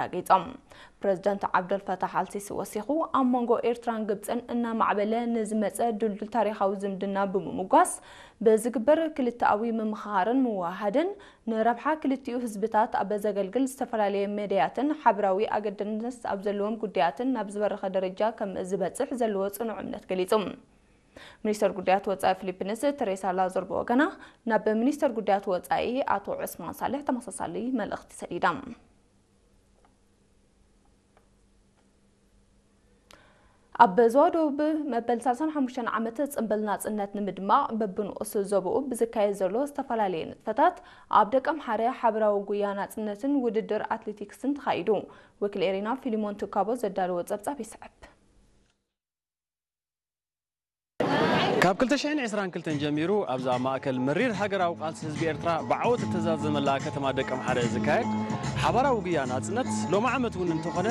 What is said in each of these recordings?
ኣረጋጊጾም። ፕረዚደንት ዓብደልፈታሕ ኣልሲሲ ወሲኹ፣ ኣብ መንጎ ኤርትራን ግብጽን እናማዕበለ ንዝመጸ ድልዱል ታሪኻዊ ዝምድና ብምምጓስ፣ ብዝግበር ክልተኣዊ ምምኽኻርን ምውህሃድን ንረብሓ ክልቲኡ ህዝብታት ኣብ ዘገልግል ዝተፈላለየ መዳያትን ሓበራዊ ኣገዳስነት ኣብ ዘለዎም ጉዳያትን ናብ ዝበረኸ ደረጃ ከም ዝበጽሕ ዘለዎ ጽኑዕ እምነት ገሊጹ። ሚኒስተር ጉዳያት ወጻኢ ፊሊፒንስ ተሬሳ ላዞር ብወገና ናብ ሚኒስተር ጉዳያት ወጻኢ ኣቶ ዑስማን ሳልሕ ተመሳሳሊ መልእኽቲ ሰዲዳ። ኣብ ዞባ ደቡብ መበል ሰላሳን ሓሙሽተን ዓመት ጽምብል ናጽነት ንምድማቕ በብንኡስ ዞባኡ ብዝካየድ ዘሎ ዝተፈላለየ ንጥፈታት ኣብ ደቀምሓረ ሓበራዊ ጉያ ናጽነትን ውድድር ኣትሌቲክስን ተኻይዱ። ወኪል ኤሪና ፊሊሞን ትካቦ ዘዳለዎ ጸብጻብ ይስዕብ። ካብ ክልተ ሽሕን ዕስራን ክልተን ጀሚሩ ኣብዛ ማእከል መሪር ሃገራዊ ቃልሲ ህዝቢ ኤርትራ ብዓወት እተዛዘመላ ከተማ ደቀምሓረ ዝካየድ ሓባራዊ ጉያ ናጽነት ሎሚ ዓመት እውን እንተኾነ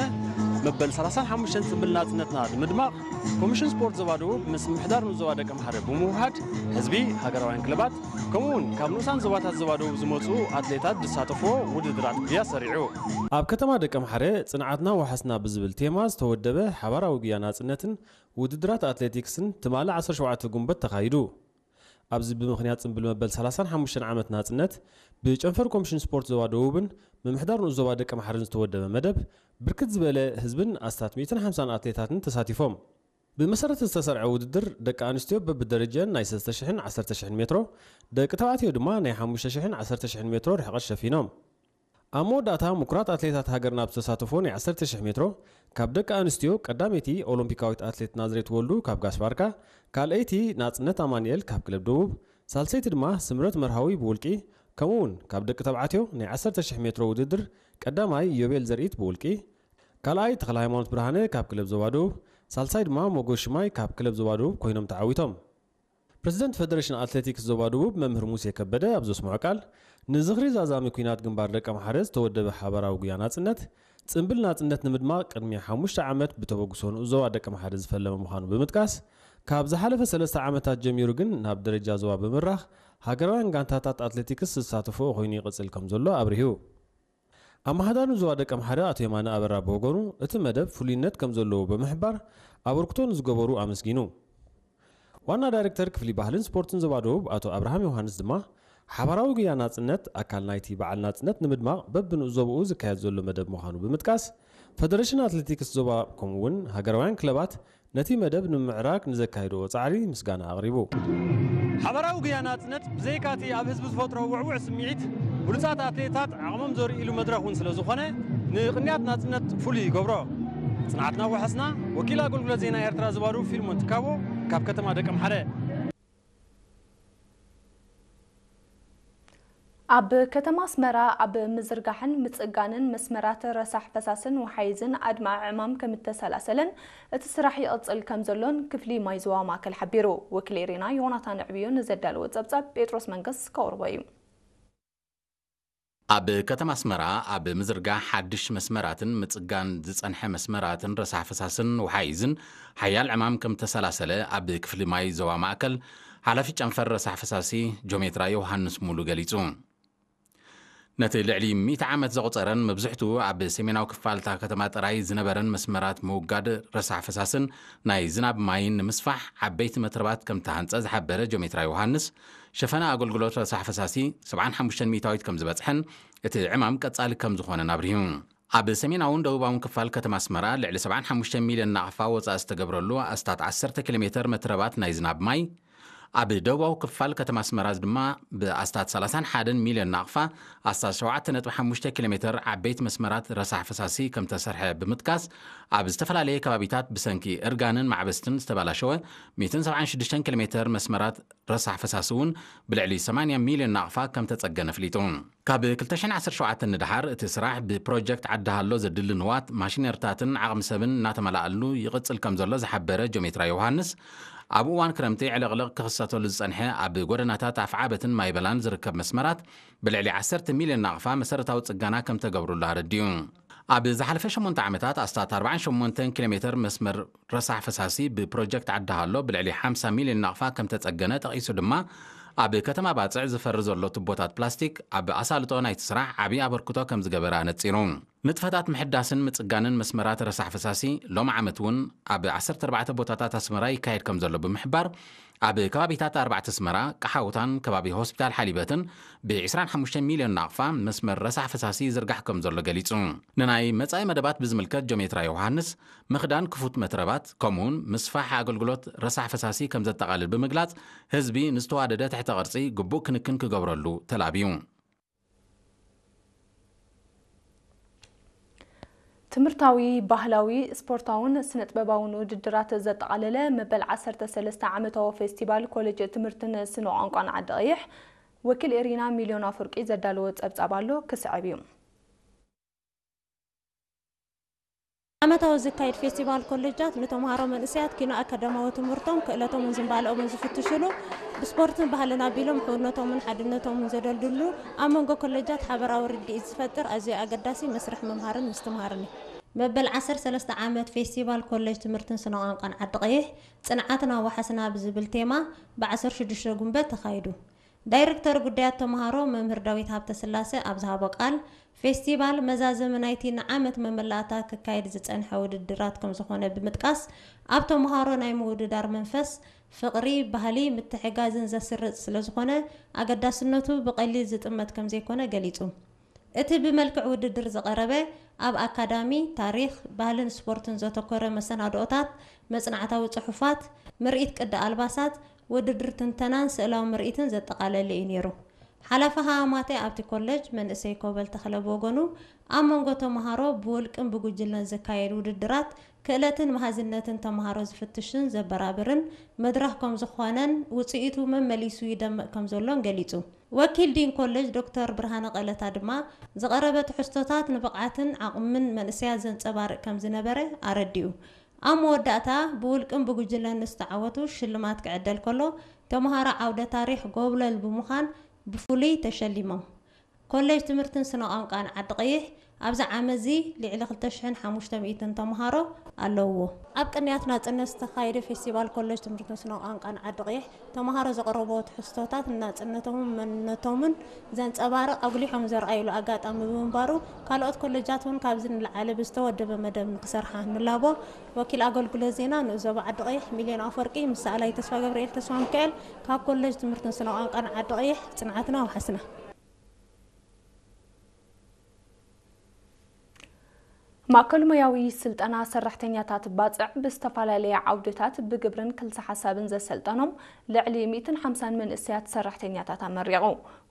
መበል ሰላሳን ሓሙሽተን ጽምብል ናጽነትና ንምድማቕ ኮሚሽን ስፖርት ዞባ ደቡብ ምስ ምምሕዳር ንዞባ ደቀምሓረ ብምውሃድ ህዝቢ፣ ሃገራውያን ክለባት ከምኡ እውን ካብ ንኡሳን ዞባታት ዞባ ደቡብ ዝመጹ ኣትሌታት ዝሳተፍዎ ውድድራት ጉያ ሰሪዑ። ኣብ ከተማ ደቀምሓረ ጽንዓትና ወሓስና ብዝብል ቴማ ዝተወደበ ሓባራዊ ጉያ ናጽነትን ውድድራት ኣትሌቲክስን ትማሊ ዓሰርተ ሸውዓተ ጉንበት ተኻይዱ። ኣብዚ ብምኽንያት ጽምብል መበል ሰላሳን ሓሙሽተን ዓመት ናጽነት ብጨንፈር ኮሚሽን ስፖርት ዞባ ደቡብን ምምሕዳር ንኡስ ዞባ ደቀምሓረን ዝተወደበ መደብ ብርክት ዝበለ ህዝብን ኣስታት ሚእትን ሓምሳን ኣትሌታትን ተሳቲፎም። ብመሰረት ዝተሰርዐ ውድድር ደቂ ኣንስትዮ በብደረጀን ናይ ሰለስተ ሽሕን ዓሰርተ ሽሕን ሜትሮ፣ ደቂ ተባዕትዮ ድማ ናይ ሓሙሽተ ሽሕን ዓሰርተ ሽሕን ሜትሮ ርሕቐት ሸፊኖም። ኣብ መወዳእታ ምኩራት ኣትሌታት ሃገርና ኣብ ዝተሳተፎ ናይ ዓሰርተ ሽሕ ሜትሮ ካብ ደቂ ኣንስትዮ ቀዳመይቲ ኦሎምፒካዊት ኣትሌት ናዝሬት ወልዱ ካብ ጋሽ ባርካ፣ ካልኣይቲ ናጽነት ኣማኑኤል ካብ ክለብ ደቡብ፣ ሳልሰይቲ ድማ ስምረት መርሃዊ ብውልቂ፣ ከምኡ እውን ካብ ደቂ ተባዕትዮ ናይ ዓሰርተ ሽሕ ሜትሮ ውድድር ቀዳማይ ዮቤል ዘርኢት ብውልቂ፣ ካልኣይ ተኽለ ሃይማኖት ብርሃነ ካብ ክለብ ዞባ ደቡብ፣ ሳልሳይ ድማ ሞጎስ ሽማይ ካብ ክለብ ዞባ ደቡብ ኮይኖም ተዓዊቶም። ፕረዚደንት ፈደረሽን ኣትሌቲክስ ዞባ ደቡብ መምህር ሙሴ ከበደ ኣብ ዘስምዖ ቃል፣ ንዝኽሪ ዛዛሚ ኲናት ግንባር ደቀምሓረ ዝተወደበ ሓባራዊ ጉያ ናጽነት፣ ጽምብል ናጽነት ንምድማቕ ቅድሚ ሓሙሽተ ዓመት ብተበግሶ ንኡስ ዞባ ደቀምሓረ ዝፈለመ ምዃኑ ብምጥቃስ፣ ካብ ዝሓለፈ ሰለስተ ዓመታት ጀሚሩ ግን ናብ ደረጃ ዞባ ብምራኽ ሃገራውያን ጋንታታት ኣትሌቲክስ ዝሳተፍኦ ኮይኑ ይቕጽል ከም ዘሎ ኣብሪሁ። ኣመሓዳሪ ዞባ ደቀምሓረ ኣቶ የማነ ኣበራ ብወገኑ፣ እቲ መደብ ፍሉይነት ከም ዘለዎ ብምሕባር፣ ኣበርክቶ ንዝገበሩ ኣመስጊኑ። ዋና ዳይሬክተር ክፍሊ ባህልን ስፖርትን ዞባ ደቡብ ኣቶ ኣብርሃም ዮሃንስ ድማ፣ ሓባራዊ ጉያ ናጽነት ኣካል ናይቲ በዓል ናጽነት ንምድማቕ በብንኡስ ዞባኡ ዝካየድ ዘሎ መደብ ምዃኑ ብምጥቃስ፣ ፈደረሽን ኣትሌቲክስ ዞባ ከምኡ እውን ሃገራውያን ክለባት ነቲ መደብ ንምምዕራግ ንዘካየድዎ ጻዕሪ ምስጋና ኣቕሪቡ። ሓባራዊ ጉያ ናጽነት ብዘይካ'ቲ ኣብ ህዝቢ ዝፈጥሮ ውዕዉዕ ስምዒት፣ ብሉጻት ኣትሌታት ዓቕሞም ዘርእይሉ መድረኽ እውን ስለ ዝኾነ፣ ንቅንያት ናጽነት ፍሉይ ይገብሮ። ጽንዓትና ወሓስና፣ ወኪል ኣገልግሎት ዜና ኤርትራ ዞባ ደቡብ ፊልሞን ትካቦ ካብ ከተማ ደቀምሓረ። ኣብ ከተማ ኣስመራ ኣብ ምዝርጋሕን ምጽጋንን መስመራት ረሳሕ ፈሳስን ወሓይዝን ኣድማዒ ዕማም ከም እተሰላሰለን እቲ ስራሕ ይቕጽል ከም ዘሎን ክፍሊ ማይ ዞባ ማእከል ሓቢሩ። ወኪል ኤሪና ዮናታን ዕብዮ ንዘዳለዎ ጸብጻብ ጴጥሮስ መንገስ ከቕርቦ እዩ። ኣብ ከተማ ኣስመራ ኣብ ምዝርጋሕ ሓድሽ መስመራትን ምጽጋን ዝጸንሐ መስመራትን ረሳሕ ፈሳስን ወሓይዝን ሓያል ዕማም ከም እተሰላሰለ ኣብ ክፍሊ ማይ ዞባ ማእከል ሓላፊ ጨንፈር ረሳሕ ፈሳሲ ጆሜትራ ዮሃንስ ሙሉ ገሊጹ። ነቲ ልዕሊ ሚእቲ ዓመት ዘቑጸረን መብዝሕትኡ ኣብ ሰሜናዊ ክፋል እታ ከተማ ጥራይ ዝነበረን መስመራት ምውጋድ ረሳሕ ፈሳስን ናይ ዝናብ ማይን ንምስፋሕ ዓበይቲ መትረባት ከም እተሃንጸ ዝሓበረ ጆሜትራ ዮሃንስ፣ ሸፈና ኣገልግሎት ረሳሕ ፈሳሲ ሰብዓን ሓሙሽተን ሚእታዊት ከም ዝበጽሐን እቲ ዕማም ቀጻሊ ከም ዝኾነን ኣብሪሁ። ኣብ ሰሜናውን ደቡባውን ክፋል ከተማ ኣስመራ ልዕሊ ሰብዓን ሓሙሽተ ሚልዮን ናቕፋ ወጻኢ ዝተገብረሉ ኣስታት ዓሰርተ ኪሎ ሜተር መትረባት ናይ ዝናብ ማይ፣ ኣብ ደቡባዊ ክፋል ከተማ ኣስመራ ድማ ብኣስታት ሰላሳን ሓደን ሚልዮን ናቕፋ ኣስታት ሸውዓተ ነጥቢ ሓሙሽተ ኪሎ ሜተር ዓበይቲ መስመራት ረሳሕ ፈሳሲ ከም ተሰርሐ ብምጥቃስ፣ ኣብ ዝተፈላለየ ከባቢታት ብሰንኪ እርጋንን ማዕበስትን ዝተባላሸወ ሚእትን ሰብዓን ሽዱሽተን ኪሎ ሜተር መስመራት ረሳሕ ፈሳሲ እውን ብልዕሊ ሰማንያ ሚልዮን ናቕፋ ከም ተጸገነ ኣፍሊጡ። ካብ ክልተ ሽሕን ዓሰርተ ሸውዓተን ንደሓር እቲ ስራሕ ብፕሮጀክት ዓዲ ሃሎ ዘድሊ ንዋት፣ ማሽነርታትን ዓቕሚ ሰብን እናተመላኣሉ ይቕጽል ከም ዘሎ ዝሓበረ ጆሜትራ ዮሃንስ፣ ኣብ እዋን ክረምቲ ዕልቕልቕ ክኽሰተሉ ዝጸንሐ ኣብ ጎደናታት ኣፍዓበትን ማይበላን ዝርከብ መስመራት ብልዕሊ ዓሰርተ ሚልዮን ናቕፋ መሰረታዊ ጽገና ከም ተገብሩሉ ኣረዲኡ። ኣብ ዝሓለፈ ሸሞንተ ዓመታት ኣስታት ኣርባዓን ሸሞንተን ኪሎ ሜተር መስመር ረሳሕ ፈሳሲ ብፕሮጀክት ዓዲ ሃሎ ብልዕሊ ሓምሳ ሚልዮን ናቕፋ ከም ተጸገነ ጠቒሱ ድማ፣ ኣብ ከተማ ባጽዕ ዝፈሪ ዘሎ ቱቦታት ፕላስቲክ ኣብ ኣሳልጦ ናይቲ ስራሕ ዓቢ ኣበርክቶ ከም ዝገበረ ኣነጺሩ። ንጥፈታት ምሕዳስን ምጽጋንን መስመራት ረሳሕ ፈሳሲ ሎም ዓመት እውን ኣብ ዓሰርተ ኣርባዕተ ቦታታት ኣስመራ ይካየድ ከም ዘሎ ብምሕባር፣ ኣብ ከባቢታት ኣርባዕተ ኣስመራ፣ ቀሓውታን ከባቢ ሆስፒታል ሓሊበትን ብ ዕስራን ሓሙሽተን ሚልዮን ናቕፋ መስመር ረሳሕ ፈሳሲ ይዝርጋሕ ከም ዘሎ ገሊጹ። ንናይ መጻኢ መደባት ብዝምልከት ጆሜትራ ዮሃንስ፣ ምኽዳን ክፉት መትረባት፣ ከምኡውን ምስፋሕ ኣገልግሎት ረሳሕ ፈሳሲ ከም ዘጠቓልል ብምግላጽ፣ ህዝቢ ንዝተዋደደ ትሕተ ቅርጺ ግቡእ ክንክን ክገብረሉ ተላብዩ። ትምህርታዊ፣ ባህላዊ፣ ስፖርታውን ስነ-ጥበባውን ውድድራት ዘጠቓለለ መበል ዓሰርተ ሰለስተ ዓመታዊ ፌስቲቫል ኮሌጅ ትምህርትን ስነ ቋንቋን ዓዲ ቀይሕ፣ ወኪል ኤሪና ሚልዮን ኣፈወርቂ ዘዳለዎ ጸብጻብ ኣሎ፣ ክስዕብ እዩ። ዓመታዊ ዝካየድ ፌስቲቫል ኮሌጃት ንተምሃሮ መንእሰያት ኪኖ ኣካዳማዊ ትምህርቶም፣ ክእለቶምን ዝንባለኦምን ዝፍትሽሉ፣ ብስፖርትን ባህልን ኣቢሎም ሕውነቶምን ሓድነቶምን ዘደልድሉ፣ ኣብ መንጎ ኮሌጃት ሓበራዊ ርድኢት ዝፈጥር ኣዝዩ ኣገዳሲ መስርሕ ምምሃርን ምስትምሃርን እዩ። መበል ዓሰርተ ሰለስተ ዓመት ፌስቲቫል ኮሌጅ ትምህርትን ስነ ቋንቋን ዓዲ ቀይሕ፣ ጽንዓትና ወሓስና ብዝብል ቴማ ብ ዓሰርተ ሽዱሽተ ጉንበት ተኻይዱ። ዳይረክተር ጉዳያት ተምሃሮ መምህር ዳዊት ሃብተስላሰ ኣብ ዝሃቦ ቃል፣ ፌስቲቫል መዛዘሚ ናይቲ ንዓመት መመላእታ ክካየድ ዝጸንሐ ውድድራት ከም ዝኾነ ብምጥቃስ፣ ኣብ ተምሃሮ ናይ ምውድዳር መንፈስ፣ ፍቕሪ፣ ባህሊ ምትሕጋዝን ዘስርጽ ስለ ዝኾነ፣ ኣገዳስነቱ ብቐሊል ዝጥመት ከም ዘይኮነ ገሊጹ። እቲ ብመልክዕ ውድድር ዝቐረበ፣ ኣብ ኣካዳሚ፣ ታሪኽ፣ ባህልን ስፖርትን ዘተኮረ መሰናድኦታት፣ መጽናዕታዊ ጽሑፋት፣ ምርኢት ቅዲ ኣልባሳት፣ ውድድር ትንተናን ስእላዊ ምርኢትን ዘጠቓለለ እዩ ነይሩ። ሓላፊ ሃማማተ ኣብቲ ኮሌጅ መንእሰይ ኮበል ተኽለ ብወገኑ፣ ኣብ መንጎ ተምሃሮ ብውልቅን ብጉጅለን ዝካየድ ውድድራት ክእለትን መሃዝነትን ተምሃሮ ዝፍትሽን ዘበራብርን መድረኽ ከም ዝኾነን ውጽኢቱ መመሊሱ ይደምቕ ከም ዘሎን ገሊጹ። ወኪል ዲን ኮሌጅ ዶክተር ብርሃነ ቀለታ ድማ፣ ዝቐረበ ትሕዝቶታት ንብቕዓትን ዓቕምን መንእሰያት ዘንጸባርቕ ከም ዝነበረ ኣረዲኡ። ኣብ መወዳእታ፣ ብውልቅን ብጉጅለን ንዝተዓወቱ ሽልማት ክዕደል ከሎ፣ ተምሃሮ ዓውደ ታሪኽ ጎብለል ብምዃን ብፍሉይ ተሸሊሞም። ኮሌጅ ትምህርትን ስነ ቋንቋን ዓዲ ቀይሕ ኣብዚ ዓመት እዚ ልዕሊ ክልተ ሽሕን ሓሙሽተ ሚእትን ተምሃሮ ኣለውዎ። ኣብ ቅንያት ናጽነት ዝተኻየደ ፌስቲቫል ኮሌጅ ትምህርትን ስነ ቋንቋን ዓዲ ቀይሕ፣ ተምሃሮ ዘቕረብዎ ትሕዝቶታት ንናጽነቶምን መንነቶምን ዘንጸባርቕ ኣጉሊሖም ዘርኣይሉ ኣጋጣሚ ብምንባሩ፣ ካልኦት ኮሌጃት እውን ካብዚ ንላዕሊ ብዝተወደበ መደብ ንክሰርሓ ንላቦ። ወኪል ኣገልግሎት ዜና ንኡስ ዞባ ዓዲ ቀይሕ ሚልዮን ኣፈወርቂ ምስ ሰኣላይ ተስፋ ገብርኤል ተስፋ ሚካኤል ካብ ኮሌጅ ትምህርትን ስነ ቋንቋን ዓዲ ቀይሕ ጽንዓትና ወሓስና። ማእከል ሞያዊ ስልጠና ሰራሕተኛታት ባጽዕ ብዝተፈላለየ ዓውድታት ብግብርን ክልሰ ሓሳብን ዘሰልጠኖም ልዕሊ ሚእትን ሓምሳን መንእሰያት ሰራሕተኛታት ኣመሪቑ።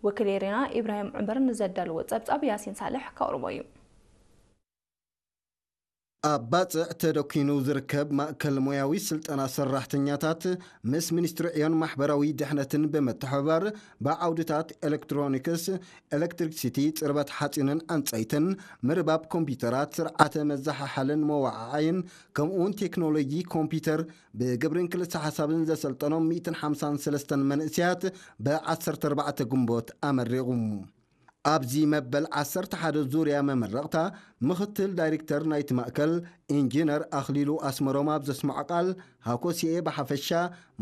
ወኪል ኤሪና ኢብራሂም ዑመር ንዘዳለዎ ጸብጻብ ያሲን ሳልሕ ከቕርቦ እዩ። ኣብ ባጽዕ ተደኪኑ ዝርከብ ማእከል ሞያዊ ስልጠና ሰራሕተኛታት ምስ ሚኒስትሪ ዕዮን ማሕበራዊ ድሕነትን ብምትሕብባር ብዓውድታት ኤሌክትሮኒክስ፣ ኤሌክትሪክሲቲ፣ ጽርበት ሓጺንን ዕንጸይትን፣ ምርባብ ኮምፒውተራት፣ ስርዓተ መዘሓሓልን መወዓዓይን፣ ከምኡውን ቴክኖሎጂ ኮምፒውተር ብግብርን ክልሰ ሓሳብን ዘሰልጠኖም ሚእትን ሓምሳን ሰለስተን መንእሰያት ብ ዓሰርተ ኣርባዕተ ግንቦት ኣመሪቑ። ኣብዚ መበል ዓሰርተ ሓደ ዙርያ መመረቕታ ምኽትል ዳይሬክተር ናይቲ ማእከል ኢንጂነር ኣኽሊሉ ኣስመሮም ኣብ ዘስምዖ ቃል፣ ሃኮሲኤ ብሓፈሻ፣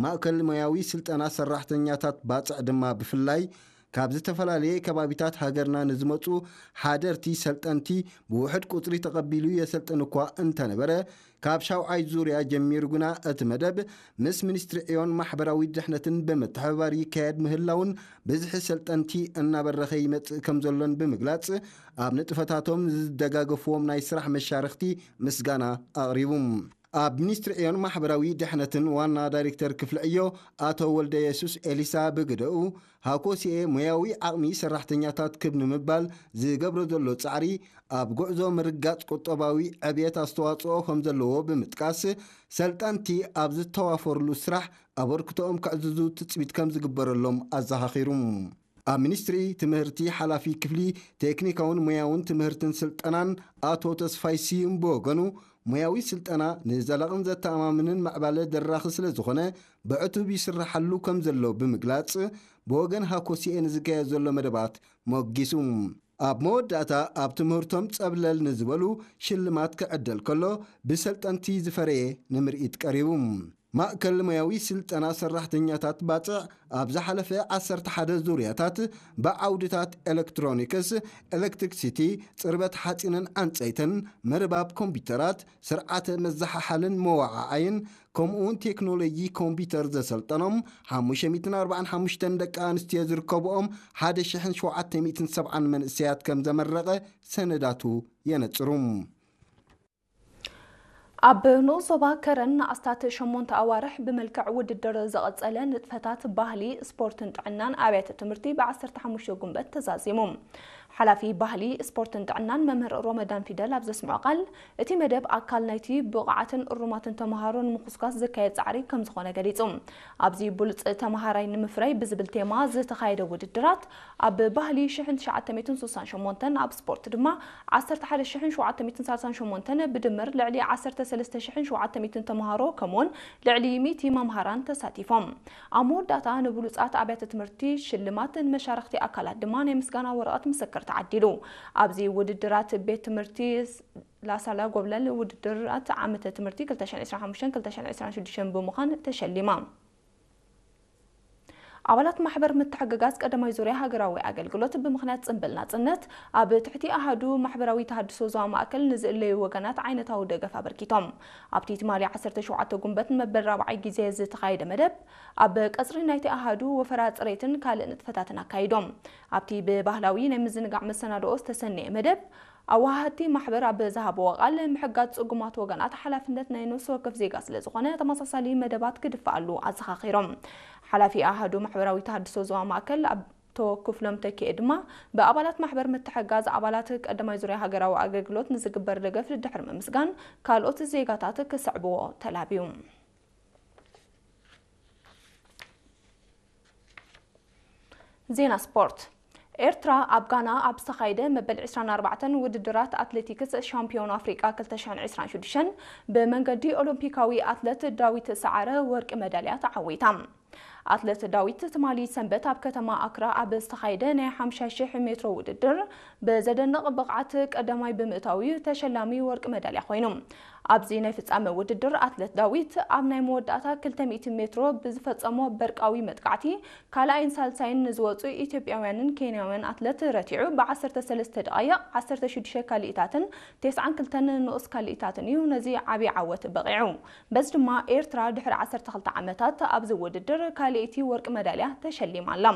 ማእከል ሞያዊ ስልጠና ሰራሕተኛታት ባጽዕ ድማ ብፍላይ፣ ካብ ዝተፈላለየ ከባቢታት ሃገርና ንዝመጹ ሓደርቲ ሰልጠንቲ ብውሑድ ቁጽሪ ተቐቢሉ የሰልጥን እኳ እንተነበረ፣ ካብ ሻውዓይ ዙርያ ጀሚሩ ግና እቲ መደብ ምስ ሚኒስትሪ ዕዮን ማሕበራዊ ድሕነትን ብምትሕብባር ይካየድ ምህላውን ብዝሒ ሰልጠንቲ እናበረኸ ይመጽእ ከም ዘሎን ብምግላጽ፣ ኣብ ንጥፈታቶም ዝደጋገፍዎም ናይ ስራሕ መሻርኽቲ ምስጋና ኣቕሪቡ። ኣብ ሚኒስትሪ ዕዮን ማሕበራዊ ድሕነትን ዋና ዳይሬክተር ክፍሊ ዕዮ ኣቶ ወልደ የሱስ ኤሊሳ ብግደኡ፣ ሃኮሲኤ ሞያዊ ዓቕሚ ሰራሕተኛታት ክብ ንምባል ዝገብሮ ዘሎ ጻዕሪ፣ ኣብ ጉዕዞ ምርጋጽ ቁጠባዊ ዕብየት ኣስተዋጽኦ ከም ዘለዎ ብምጥቃስ፣ ሰልጠንቲ ኣብ ዝተዋፈርሉ ስራሕ ኣበርክቶኦም ከዕዝዙ ትጽቢት ከም ዝግበረሎም ኣዘኻኺሩ። ኣብ ሚኒስትሪ ትምህርቲ ሓላፊ ክፍሊ ቴክኒካውን ሞያውን ትምህርትን ስልጠናን ኣቶ ተስፋይ ስዩም ብወገኑ፣ ሞያዊ ስልጠና ንዘላቕን ዘተኣማምንን ምዕባለ ደራኺ ስለ ዝኾነ፣ ብዕቱብ ይስራሓሉ ከም ዘሎ ብምግላጽ፣ ብወገን ሃኮሲኤ ንዝካየድ ዘሎ መደባት ሞጊሱ። ኣብ መወዳእታ፣ ኣብ ትምህርቶም ጸብለል ንዝበሉ ሽልማት ክዕደል ከሎ፣ ብሰልጠንቲ ዝፈረየ ንምርኢት ቀሪቡ። ማእከል ሞያዊ ስልጠና ሰራሕተኛታት ባጽዕ ኣብ ዝሓለፈ ዓሰርተ ሓደ ዙርያታት ብዓውድታት ኤሌክትሮኒክስ፣ ኤሌክትሪክሲቲ፣ ጽርበት ሓጺንን ዕንጸይትን፣ ምርባብ ኮምፒውተራት፣ ስርዓተ መዘሓሓልን መወዓዓይን፣ ከምኡውን ቴክኖሎጂ ኮምፒውተር ዘሰልጠኖም ሓሙሽተ ሚእትን ኣርባዓን ሓሙሽተን ደቂ ኣንስትዮ ዝርከብኦም ሓደ ሽሕን ሸውዓተ ሚእትን ሰብዓን መንእሰያት ከም ዘመረቐ ሰነዳቱ የነጽሩ። ኣብ ንኡስ ዞባ ከረን ንኣስታት ሸሞንተ ኣዋርሕ ብመልክዕ ውድድር ዝቐጸለ ንጥፈታት ባህሊ፣ ስፖርትን ጥዕናን ኣብያተ ትምህርቲ ብ ዓሰርተ ሓሙሽተ ጉንበት ተዛዚሙ። ሓላፊ ባህሊ፣ ስፖርትን ጥዕናን መምህር ሮመዳን ፊደል ኣብ ዘስምዖ ቃል፣ እቲ መደብ ኣካል ናይቲ ብቑዓትን እሩማትን ተመሃሮ ንምኹስኳስ ዝካየድ ጻዕሪ ከም ዝኾነ ገሊጹ። ኣብዚ ብሉጽ ተመሃራይ ንምፍራይ ብዝብል ቴማ ዝተኻየደ ውድድራት፣ ኣብ ባህሊ ሽሕን ትሽዓተ ሚእትን ስሳን ሸሞንተን፣ ኣብ ስፖርት ድማ ዓሰርተ ሓደ ሽሕን ሸውዓተ ሚእትን ሰላሳን ሸሞንተን፣ ብድምር ልዕሊ ዓሰርተ ሰለስተ ሽሕን ሸውዓተ ሚእትን ተመሃሮ፣ ከምኡውን ልዕሊ ሚእቲ መምሃራን ተሳቲፎም። ኣብ መወዳእታ ንብሉጻት ኣብያተ ትምህርቲ ሽልማት፣ ንመሻርኽቲ ኣካላት ድማ ናይ ምስጋና ወረቐት ምስክር ተዓዲሉ። ኣብዚ ውድድራት ቤት ትምህርቲ ላሳላ ጎብለል ውድድራት ዓመተ ትምህርቲ ክልተ ሽሕን ዕስራን ሓሙሽተን ክልተ ሽሕን ዕስራን ሽዱሽተን ብምዃን ተሸሊማ። ኣባላት ማሕበር ምትሕግጋዝ ቀዳማይ ዙርያ ሃገራዊ ኣገልግሎት ብምኽንያት ጽምብል ናጽነት ኣብ ትሕቲ ኣሃዱ ማሕበራዊ ተሃድሶ ዞባ ማእከል ንዝእለዩ ወገናት ዓይነታዊ ደገፍ ኣበርኪቶም። ኣብቲ ትማሊ ዓሰርተ ሸውዓተ ጉንበት ንመበል ራብዓይ ግዜ ዝተኻየደ መደብ፣ ኣብ ቀጽሪ ናይቲ ኣሃዱ ወፈራ ጽሬትን ካልእ ንጥፈታትን ኣካይዶም። ኣብቲ ብባህላዊ ናይ ምዝንጋዕ መሰናድኦ ዝተሰነየ መደብ፣ ኣወሃሃድቲ ማሕበር ኣብ ዝሃብዎ ቃል፣ ምሕጋዝ ጽጉማት ወገናት ሓላፍነት ናይ ነፍሲ ወከፍ ዜጋ ስለ ዝኾነ፣ ተመሳሳሊ መደባት ክድፈኣሉ ኣዘኻኺሮም። ሓላፊ ኣሃዱ ማሕበራዊ ተሃድሶ ዞባ ማእከል ኣቶ ክፍሎም ተኪኤ ድማ፣ ብኣባላት ማሕበር ምትሕጋዝ ኣባላት ቀዳማይ ዙርያ ሃገራዊ ኣገልግሎት ንዝግበር ደገፍ ድሕሪ ምምስጋን፣ ካልኦት ዜጋታት ክስዕብዎ ተላብዩ። ዜና ስፖርት። ኤርትራ ኣብ ጋና ኣብ ዝተኻየደ መበል ዕስራን ኣርባዕተን ውድድራት ኣትሌቲክስ ሻምፒዮን ኣፍሪቃ ክልተ ሽሕን ዕስራን ሽዱሽተን ብመንገዲ ኦሎምፒካዊ ኣትለት ዳዊት ሰዓረ ወርቂ መዳልያ ተዓዊታ። ኣትለት ዳዊት ትማሊ ሰንበት ኣብ ከተማ ኣክራ ኣብ ዝተኻየደ ናይ ሓምሳ ሽሕ ሜትሮ ውድድር ብዘደንቕ ብቕዓት ቀዳማይ ብምእታው እዩ ተሸላሚ ወርቂ መዳልያ ኮይኑ። ኣብዚ ናይ ፍጻመ ውድድር ኣትለት ዳዊት ኣብ ናይ መወዳእታ ክልተ ሚእቲ ሜትሮ ብዝፈጸሞ በርቃዊ መጥቃዕቲ ካልኣይን ሳልሳይን ንዝወጹ ኢትዮጵያውያንን ኬንያውያን ኣትለት ረቲዑ ብ ዓሰርተ ሰለስተ ደቓይቕ ዓሰርተ ሽዱሽተ ካልኢታትን ተስዓን ክልተን ንኡስ ካልኢታትን እዩ ነዚ ዓቢ ዓወት በቒዑ። በዚ ድማ ኤርትራ ድሕሪ ዓሰርተ ክልተ ዓመታት ኣብዚ ውድድር ካልኣይቲ ወርቂ መዳልያ ተሸሊማ ኣላ።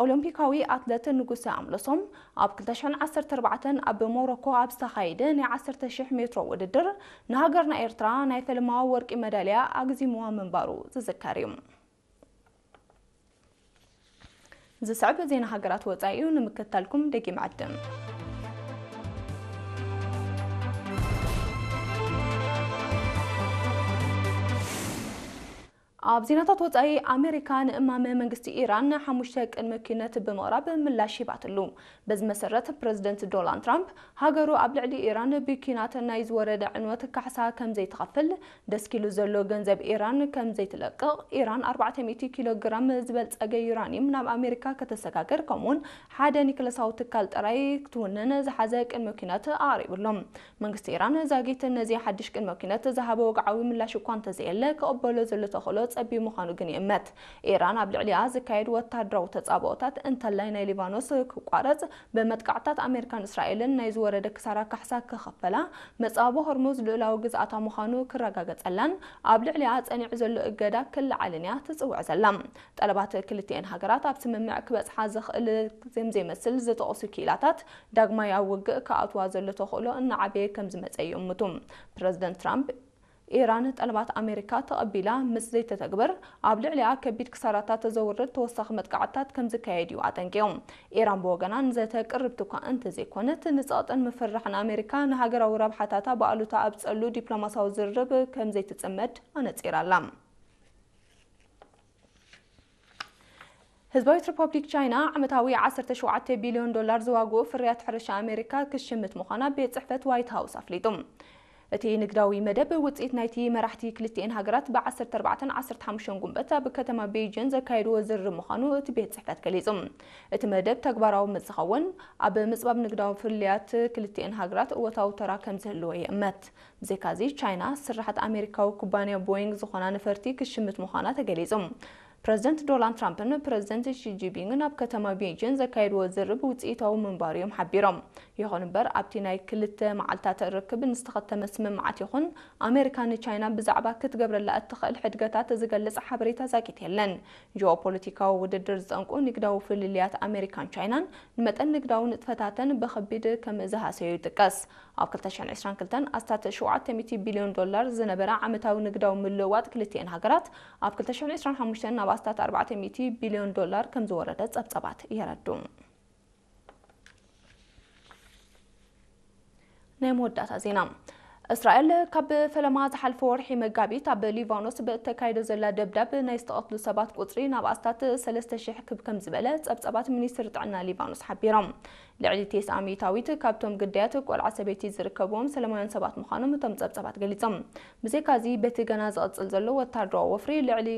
ኦሎምፒካዊ ኣትለት ንጉሰ ኣምለሶም ኣብ ክልተ ሽሕን ዓሰርተ ኣርባዕተን ኣብ ሞሮኮ ኣብ ዝተኻየደ ናይ ዓሰርተ ሽሕ ሜትሮ ውድድር ንሃገርና ኤርትራ ናይ ፈለማ ወርቂ መዳልያ ኣግዚምዋ ምንባሩ ዝዝከር እዩ። ዝስዕብ ዜና ሃገራት ወጻኢ እዩ፣ ንምክትታልኩም ደጊም ዕድም። ኣብ ዜናታት ወጻኢ፣ ኣሜሪካ ንእማመ መንግስቲ ኢራን ሓሙሽተ ቅድመ ኩነት ብምቕራብ ምላሽ ሂባትሉ። በዚ መሰረት፣ ፕረዚደንት ዶናልድ ትራምፕ ሃገሩ ኣብ ልዕሊ ኢራን ብኲናት ናይ ዝወረደ ዕንወት ካሕሳ ከም ዘይትኸፍል፣ ደስኪሉ ዘሎ ገንዘብ ኢራን ከም ዘይትለቅቕ፣ ኢራን ኣርባዕተ ሚእቲ ኪሎ ግራም ዝበልጸገ ዩራኒየም ናብ ኣሜሪካ ከተሰጋግር፣ ከምኡውን ሓደ ኒክለሳዊ ትካል ጥራይ ክትውንን ዝሓዘ ቅድመ ኲናት ኣቕሪቡ ኣሎ። መንግስቲ ኢራን ዛጊት ነዚ ሓድሽ ቅድመ ኲናት ዝሃበ ወግዓዊ ምላሽ እኳ እንተዘየለ፣ ክቕበሎ ዘሎ ተኽእሎ ጸቢብ ምዃኑ ግን ይእመት። ኢራን ኣብ ልዕሊኣ ዝካየድ ወተሃደራዊ ተጻብኦታት እንተላይ ናይ ሊባኖስ ክቋረጽ፣ ብመጥቃዕትታት ኣሜሪካን እስራኤልን ናይ ዝወረደ ክሳራ ካሕሳ ክኸፈላ፣ መጻወ ሆርሙዝ ልኡላዊ ግዝኣታ ምዃኑ ክረጋገጸላን ኣብ ልዕሊኣ ጸኒዑ ዘሎ እገዳ ክለዓልን እያ ትጽውዕ ዘላ። ጠለባት ክልቲኤን ሃገራት ኣብ ስምምዕ ክበጽሓ ዘኽእል ዘም ዘይመስል ዝጠቕሱ ክኢላታት፣ ዳግማይ ኣብ ውግእ ክኣትዋ ዘሎ ተኽእሎ እናዓበየ ከም ዝመጸ ይእምቱ። ፕረዚደንት ትራምፕ፣ ኢራን ጠለባት ኣሜሪካ ተቐቢላ ምስ ዘይተተግብር፣ ኣብ ልዕሊኣ ከቢድ ክሳራታት ዘውርድ ተወሳኺ መጥቃዕትታት ከም ዝካየድ እዩ ኣጠንቂቑ። ኢራን ብወገና ንዘተ ቅርብቲ እኳ እንተዘይኮነት፣ ንጸቕጥን ምፍርራሕን ኣሜሪካ ንሃገራዊ ረብሓታታ ብኣሉታ ኣብ ጸሉ ዲፕሎማሲያዊ ዝርርብ ከም ዘይትጽመድ ኣነጺራ ኣላ። ህዝባዊት ሪፐብሊክ ቻይና ዓመታዊ ዓሰርተ ሸውዓተ ቢልዮን ዶላር ዝዋግኡ ፍርያት ሕርሻ ኣሜሪካ ክትሽምት ምዃና ቤት ጽሕፈት ዋይት ሃውስ ኣፍሊጡ። እቲ ንግዳዊ መደብ ውጽኢት ናይቲ መራሕቲ ክልቲኤን ሃገራት ብ ዓሰርተ ኣርባዕተን ዓሰርተ ሓሙሽተን ጉንበት ኣብ ከተማ ቤይጂን ዘካየድዎ ዝርርብ ምዃኑ እቲ ቤት ጽሕፈት ገሊጹ። እቲ መደብ ተግባራዊ ምስ ዝኸውን፣ ኣብ ምጽባብ ንግዳዊ ፍልልያት ክልቲኤን ሃገራት እወታዊ ተራ ከም ዝህልዎ ይእመት። ብዘይካዚ፣ ቻይና ስራሓት ኣሜሪካዊ ኩባንያ ቦይንግ ዝኾና ነፈርቲ ክሽምት ምዃና ተገሊጹ። ፕረዚደንት ዶናልድ ትራምፕን ፕረዚደንት ሺ ጂንፒንግን ኣብ ከተማ ቤይጂን ዘካየድዎ ዝርርብ ውጽኢታዊ ምንባሩ እዮም ሓቢሮም። ይኹን እምበር፣ ኣብቲ ናይ ክልተ መዓልታት ርክብ ንዝተኸተመ ስምምዓት ይኹን ኣሜሪካ ንቻይና ብዛዕባ ክትገብረላ እትኽእል ሕድገታት ዝገልጽ ሓበሬታ ዛጊት የለን። ጂኦፖለቲካዊ ውድድር ዝጠንቁ ንግዳዊ ፍልልያት ኣሜሪካን ቻይናን ንመጠን ንግዳዊ ንጥፈታተን ብኸቢድ ከም ዝሃሰዩ ይጥቀስ። ኣብ ክልተ ሽሕን ዕስራን ክልተን ኣስታት ሸውዓተ ሚእቲ ቢልዮን ዶላር ዝነበረ ዓመታዊ ንግዳዊ ምልውዋጥ ክልቲኤን ሃገራት፣ ኣብ ክልተ ሽሕን ዕስራን ሓሙሽተን ናብ ኣስታት ኣርባዕተ ሚእቲ ቢልዮን ዶላር ከም ዝወረደ ጸብጸባት የረድኡ። ናይ መወዳእታ ዜና። እስራኤል ካብ ፈለማ ዝሓለፈ ወርሒ መጋቢት ኣብ ሊባኖስ ብእተካይዶ ዘላ ደብዳብ ናይ ዝተቐትሉ ሰባት ቁጽሪ ናብ ኣስታት ሰለስተ ሽሕ ክብ ከም ዝበለ ጸብጸባት ሚኒስትሪ ጥዕና ሊባኖስ ሓቢሮም። ልዕሊ ተስዓ ሚእታዊት ካብቶም ግዳያት ቆልዓ ሰበይቲ ዝርከብዎም ሰላማውያን ሰባት ምዃኖም እቶም ጸብጸባት ገሊጾም። ብዘይካዚ፣ በቲ ገና ዝቕጽል ዘሎ ወታደራዊ ወፍሪ ልዕሊ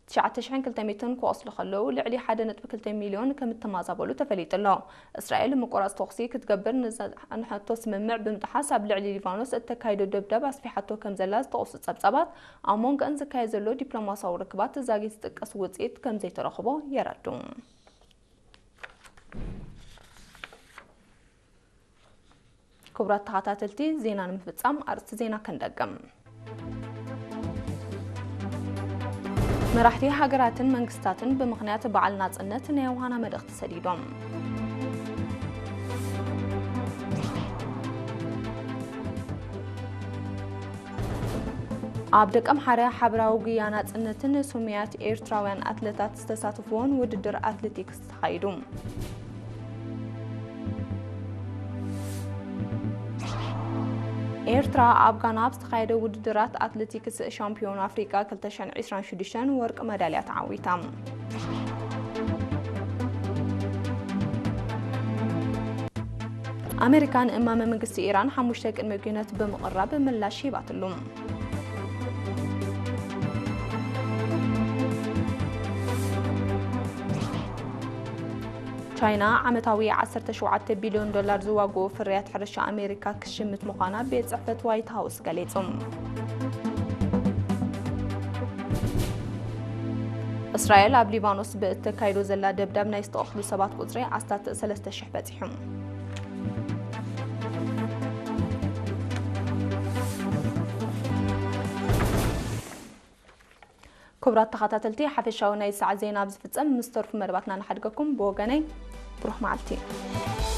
ትሽዓተ ሽሕን ክልተ ሚእትን ክቖስሉ ከለዉ፣ ልዕሊ ሓደ ነጥቢ ክልተ ሚልዮን ከም እተማዛበሉ ተፈሊጡ ኣሎ። እስራኤል ምቁራጽ ተኹሲ ክትገብር ንዘ-፣ ንዝጸንሐቶ ስምምዕ ብምጥሓስ፣ ኣብ ልዕሊ ሊባኖስ እተካይዶ ደብዳብ ኣስፊሓቶ ከም ዘላ ዝተቑሱ ጸብጻባት፣ ኣብ መንጎኣን ዝካየድ ዘሎ ዲፕሎማስያዊ ርክባት ዛጊት ዝጥቀስ ውጽኢት ከም ዘይተረኽቦ የረድኡ። ክቡራት ተኸታተልቲ፣ ዜና ንምፍጻም ኣርእስቲ ዜና ክንደግም። መራሕቲ ሃገራትን መንግስታትን ብምኽንያት በዓል ናጽነት ናይ ዮሃና መልእኽቲ ሰዲዶም። ኣብ ደቀምሓረ ሓበራዊ ጉያ ናጽነትን ስሙያት ኤርትራውያን ኣትለታት ዝተሳተፍዎን ውድድር ኣትሌቲክስ ተኻይዱ። ኤርትራ ኣብ ጋና ኣብ ዝተኻየደ ውድድራት ኣትሌቲክስ ሻምፒዮን ኣፍሪቃ ክልተ ሽሕን ዕስራን ሽዱሽተን ወርቂ መዳልያ ተዓዊታ። ኣሜሪካ ንእማመ መንግስቲ ኢራን ሓሙሽተ ቅድመ ኩነት ብምቕራብ ምላሽ ሂባትሉ። ቻይና ዓመታዊ ዓሰርተ ሸውዓተ ቢልዮን ዶላር ዝዋግኡ ፍርያት ሕርሻ ኣሜሪካ ክሽምት ምዃና ቤት ጽሕፈት ዋይት ሃውስ ገሊጹ። እስራኤል ኣብ ሊባኖስ ብእተካይዶ ዘላ ደብዳብ ናይ ዝተቐትሉ ሰባት ቁጽሪ ኣስታት ሰለስተ ሽሕ በጺሑ። ክቡራት ተኸታተልቲ፣ ሓፈሻዊ ናይ ሰዓት ዜና ኣብ ዝፍጸም፣ ምስ ተርፉ መደባትና ንሓድገኩም። ብወገነይ፣ ብሩኽ መዓልቲ።